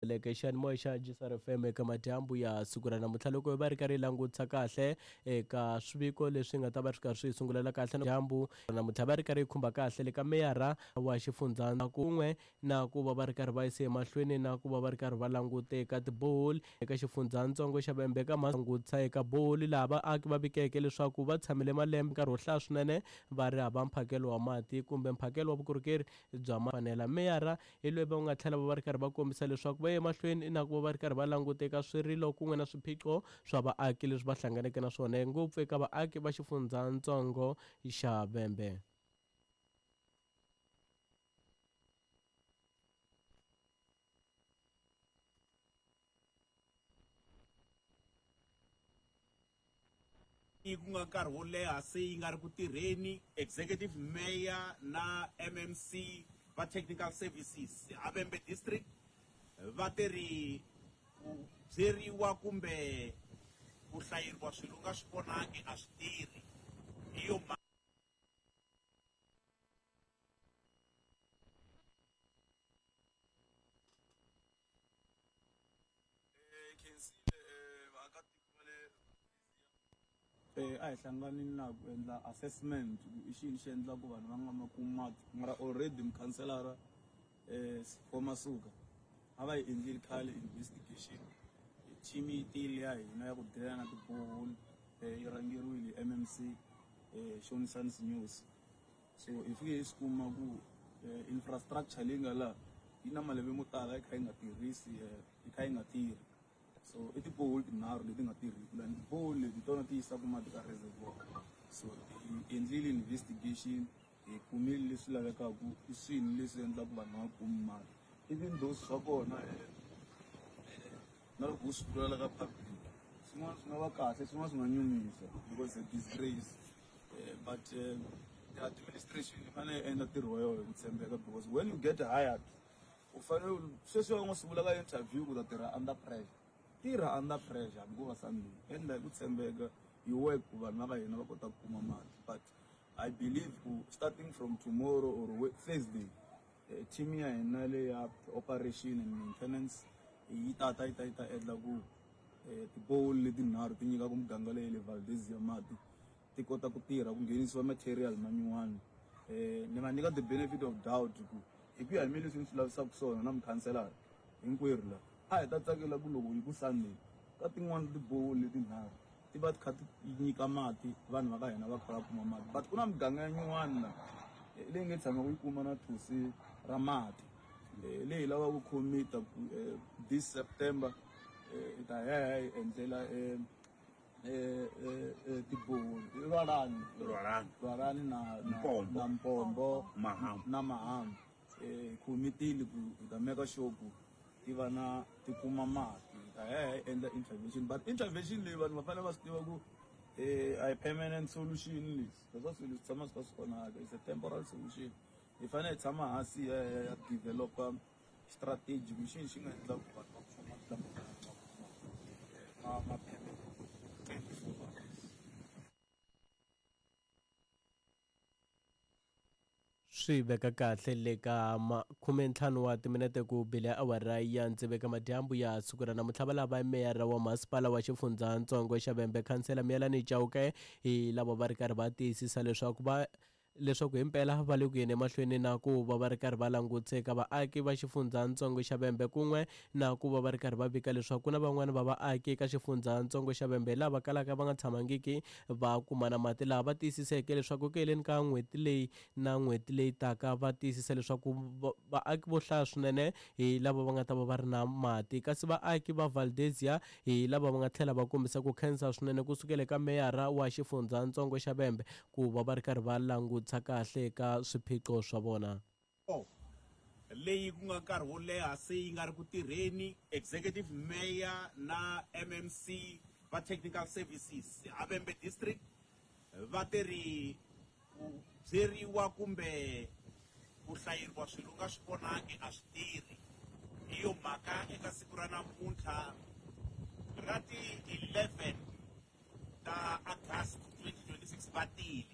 Leke xiyanimoya xa Jisar FM eka madyambu ya siku ra namuntlha loko hi va ri karhi hi langutisa kahle eka swiviko leswi nga ta va swi karhi swi hi sungulela kahle dyambu namuntlha va ri karhi hi khumba kahle le ka meyara wa xifundza kun'we na ku va va ri karhi va yise emahlweni na ku va va ri karhi va langute eka tiboholi eka xifundzatsongo xa Vhembe eka langutisa eka boholi laha vaaki va vikeke leswaku va tshamile malembe nkarhi wo hlaya swinene va ri hava mphakelo wa mati kumbe mphakelo wa vukorhokeri bya fanela meyara hi loyi va nga tlhela va va ri karhi va kombisa leswaku va ye mahlweni na ku va va ri karhi va languta eka swirilo kun'we na swiphiqo swa vaaki leswi va hlanganeke na swona ngopfu eka vaaki va xifundzatsongo xa Vhembe. Ku nga nkarhi wo leha se yi nga ri ku tirheni. Executive Mayor na MMC va Technical Services a Vhembe District va te ri ku byeriwa kumbe ku hlayeriwa swilo u nga swi vonangi a swi tirhi hi yo Khensile vaakatiko va le A hi hlanganini laha ku endla assessment ku i xini xi endlaku vanhu va nga ma kumi mati mara already mukhanselara Sipho Masuka a va yi endlile khale investigation team yi tile ya hina ya ku deal na ti-borehole yi rhangeriwile hi M_M_C Shonisani Sinyosi. So hi fike hi swi kuma ku infrastructure leyi nga laha yi na malembe mo tala yi kha yi nga tirhisi yi kha yi nga tirhi so i ti-borehole tinharhu leti nga tirhiki lani ti-borehole leti hi tona ti yisaka mati ka reservoir so hi endlile investigation hi kumile leswi lavekaka i swini leswi endlaka vanhu va nga kumi mati even though swa kona na loko u swi vulavula ka public swin'wana swi nga va kahle swin'wana swi nga nyumisa because a disgrace. But the administration yi fanele yi endla ntirho wa yona hi ku tshembeka because when you get hired u fanele sweswi va nga swi vula ka interview ku ta tirha under pressure tirha under pressure hambi ko va Sunday endla hi ku tshembeka you work ku vanhu va ka hina va kota ku kuma mati but I believe ku starting from tomorrow or Thursday team ya hina leya operation and maintenance yi tata yi ta yi ta endla ku tiboholi letinharhu ti nyikaka muganga leyi le Valdezia mati ti kota ku tirha ku nghenisiwa material ma nyuwani ni va nyika the benefit of doubt ku hi ku ya hi mina leswi ni swi lavisaka swona na mukhanselara hinkwerhu la a hi ta tsakela ku loko yi ku Sunday ka tin'wani tiboholi letinharhu ti va ti kha ti nyika mati vanhu va ka hina va kha va kuma mati but ku na miganga ya nyuwani la leyi nge tshama ku yi kuma na thusi ra mati leyi hi lavaka ku commit ku this September hi ta ya hi ya yi endlela tiboholi i Lwalani Lwalani Lwalani na na Mpombo na Mpombo Mahambu na Mahambu hi commitile ku hi ta make sure ku ti va na ti kuma mati hi ta ya hi endla intervention but intervention leyi vanhu va fanele va swi tiva ku a hi permanent solution leswi leswa swilo swi tshama swi kha swi onhaka it's a temporal solution hi fanele hi tshama hansi hi ya ya developer strategy ku xini xi nga endla ku vanhu va kuma mati lama ma ma permanent 24 hours. Swi veka kahle le ka 15 wa timinete ku bile awara ya tsevu eka madyambu ya siku ra namuntlha va lava meyara wa masipala wa xifundzatsongo xa Vhembe khansela Miyelani Chauke hi lava va ri karhi va tiyisisa leswaku va leswaku himpela va le ku yeni emahlweni na ku va va ri karhi va langutise eka vaaki va xifundzatsongo xa Vhembe kun'we na ku va va ri karhi va vika leswaku ku na van'wani va vaaki eka xifundzatsongo xa Vhembe lava kalaka va nga tshamangiki va kuma na mati laha va tiyisiseke leswaku ku heleni ka n'hweti leyi na n'hweti leyi taka va tiyisisa leswaku vaaki vo hlaya swinene hi lava va nga ta va va ri na mati kasi vaaki va Valdezia hi lava va nga tlhela va kombisa ku khensa swinene ku sukela eka meyara wa xifundzatsongo xa Vhembe ku va va ri karhi va langutisa kahle eka swiphiqo swa vona. Leyi ku nga nkarhi wo leha se yi nga ri ku tirheni Executive Mayor na MMC va Technical Services a Vhembe District va te ri ku byeriwa kumbe ku hlayeriwa swilo u nga swi vonangi a swi tirhi hi yo mhaka eka siku ra namuntlha ra ti 11 ta August 2026 va tile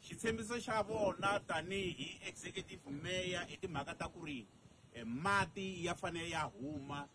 xitshembiso xa vona tanihi Executive Mayor i timhaka ta ku ri Mati ya fanele ya huma.